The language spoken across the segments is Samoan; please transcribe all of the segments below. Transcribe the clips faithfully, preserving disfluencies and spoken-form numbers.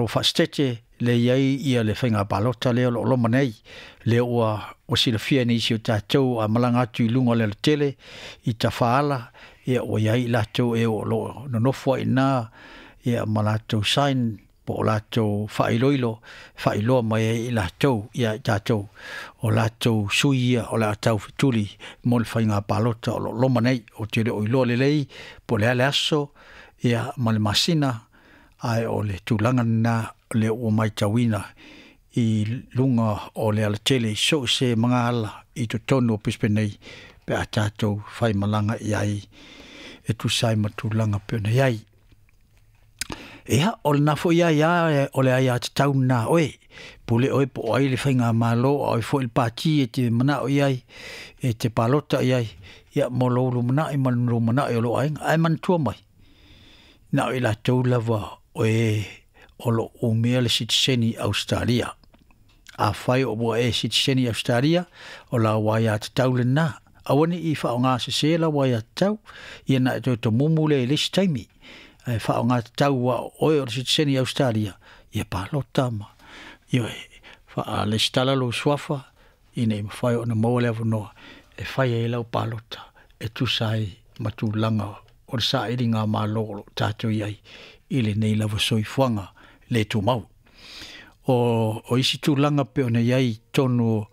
Malo faasitete le i ai ia le faiga palota lea o lo o loma nei, lea ua ua silafia e nisi o tatou a malaga atu i luga o le alatele i tafaala, ia ua i ai i latou e o lo o nonofo ai i ina ia ma latou sign po o latou faailoilo faailoa mai ai i latou ia i tatou o latou sui ia o le a taufetuli mo le faiga palota o lo o loma nei. Ou te le o iloa lelei po o le a le aso ia ma le masina, ae o le tulaga lena lea ua matauina i luga o le alatele i so o se magaala i totonu o Brisbane nei pe a tatou faimalaga i ai e tusa ai ma tulaga pei ona i ai. Ia, o lena foi aia o le aiatatau lena a oe, pule oe po o ai le faigamalo a o ai foi le pati e te manao i ai, e te palota i ai, ia mo lou lumanai ma le lumanai o lou aiga. Ae manatua mai, na o i latou lava o e o lo o umia le sitiseni Ausetalia. Afai o ua e sitiseni Ausetalia, o lau aiatatau lena. Aua ne i faaaoga sese lau aiatatau, ia na e toe tomumu lea i le isi taimi. Ae faaaoga tatau aua o oe o le sitiseni Ausetalia, ia palota ma ioe, faalesitala lou suafa ina ia mafai ona maua le avanoa e fai ai lau palota e tusa ai ma tulaga o le sailiga malo o lo o tatou i ai i lenei lava soifuaga le tumau. O, o isi tulaga pei ona i ai i totonu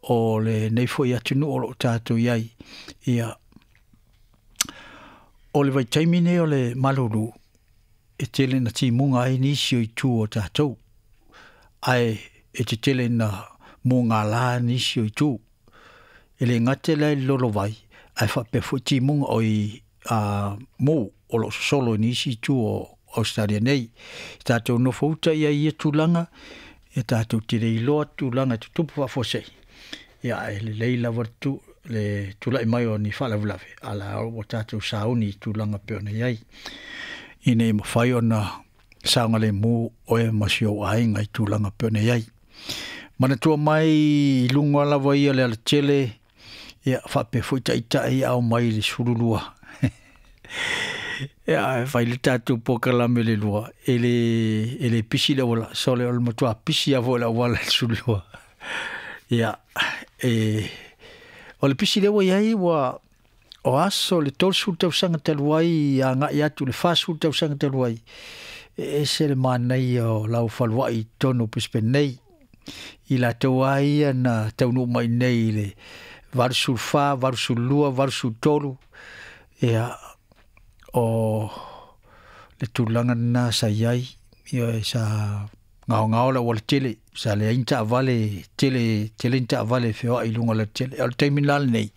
o lenei foi atunuu o lo o tatou i ai, ia, o le vaitaimi nei o le malulu, e tele ina timuga ai nisi o itu o tatou, ae e tetele ina mugala nisi o itu. E le gata la i le lolovai, ae faapea foi timuga o i a mu o lo o sosolo i nisi itu o Australia nei. I tatou nofouta i ai ia tulaga, e tatou te le iloa tulaga e tutupu faafuasei, ia ae lelei lava le, tu, le tulai mai o ni faalavelave, a la ua tatou sauni i tulaga pei ona i ai, ina ia mafai ona saogalemu oe ma si ou aiga i tulaga pei ona i ai. Manatua mai i luga lava ia o le alatele, ia faapea foi taitai ao mai i le sefulu lua. Ia, e fai le tatou polokalame le lua, e le, e le pisi le auala, sole o le matua pisi lava foi le auala i le sefulu lua. Ia, e, o le pisi lea ua i ai, ua, o aso le tolusefulu tausaga talu ai agai atu i le fasefulu tausaga talu ai, e ese le manaia o lau faluai i totonu o Brisbane nei. I latou lava ia na taunuu mai nei i le valusefulu fa, valusefulu lua, valusefulu tolu, ia, o le tulaga lena sa i ai, ia, sa gaogao le aualatele, sa leai ni taavale tele, tele ni taavale e feoai i luga o le alatele. O le taimi la lenei,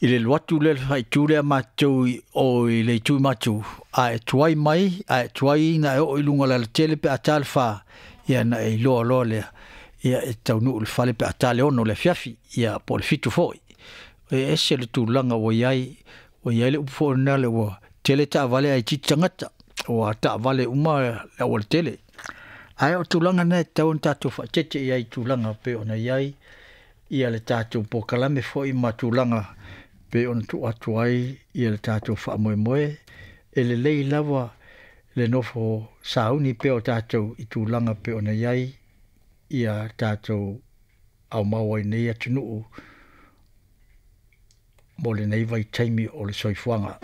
i le alu atu lea, le faaitu lea matou i o i le itu i matou, a e tuai mai, a e tuai ina e oo i luga o le alatele pe a ta le fa, ia na e iloa loa lea, ia e taunuu i le fale pe a ta le ono le afiafi, ia po o le fitu foi. E ese le tulaga ua i ai, ua i ai le upu foi lena le ua tele taavale ae itiiti tagata, ua taavale uma le aualatele. Ae o tulaga na e tatau ona tatou faaeteete i ai i tulaga pei ona i ai ia le tatou polokalame foi ma tulaga pei ona tuu atu ai ia le tatou faamoemoe. E lelei lava le nofo sauni pea o tatou i tulaga pei ona i ai ia tatou aumau ai nei atunuu mo lenei vaitaimi o le soifuaga.